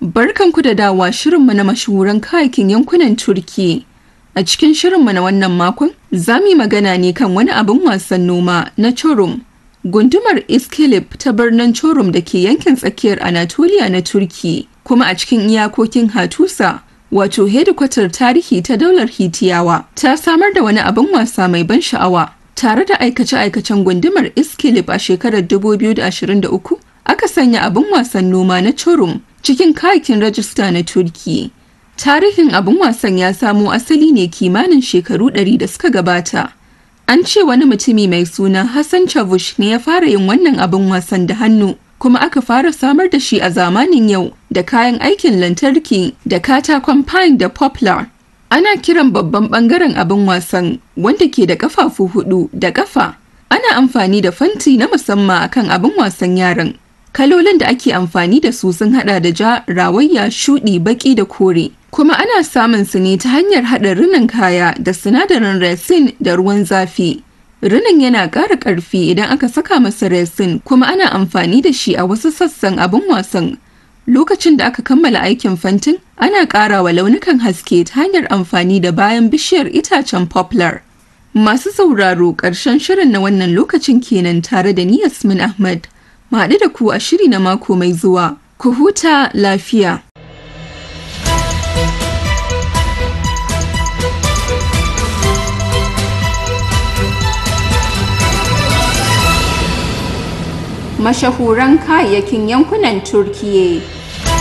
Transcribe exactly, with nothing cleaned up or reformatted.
Barkanku da dawa shirinmu na mashahuran kayakin yankunan Turki. A cikin shirinmu na wannan makon, za mu yi magana ne kan wani abin wasan noma na Çorum. Gundumar Iskilip ta birnin Çorum da ke yankin tsakiyar Anatolia na Turki, kuma a cikin iyakokin Hattusa, wato hedikwatar tarihi ta daular Hitiyawa, ta samar da wani abin wasa mai ban sha'awa. Tare da aikace-aikacen gundumar Iskilip a shekarar dubu biyu da ashirin da uku, aka sanya abin wasan noma na Çorum cikin kayakin rajista na Turki. Tarihin abin wasan ya samo asali ne kimanin shekaru ɗari da suka gabata. An ce wani mutumi mai suna Hassan Chavush ne ya fara yin wannan abin wasan da hannu, kuma aka fara samar da shi a zamanin yau da kayan aikin lantarki da katakon pine da poplar. Ana kiran babban bangaren abin wasan wanda ke da kafafu hudu da kafa. Ana amfani da fanti na musamman akan abin wasan yaran. Kalolin da ake amfani da su sun hada da ja, rawayya, shudi, baki da kore. Kuma ana samun su ne ta hanyar hada rinin kaya da sinadarin resin da ruwan zafi. Rinin yana ƙara ƙarfi idan aka saka masa resin, kuma ana amfani da shi a wasu sassan abin wasan. Lokacin da aka kammala aikin fantin, ana ƙara wa launukan haske ta hanyar amfani da bayan bishiyar itacen poplar. Masu sauraro, ƙarshen shirin na wannan lokacin kenan tare da ni Yasmin Ahmad. Mu haɗu da ku a shiri na mako mai zuwa. Ku huta lafiya. Mashahuran kayayyakin yankunan Turkiyya.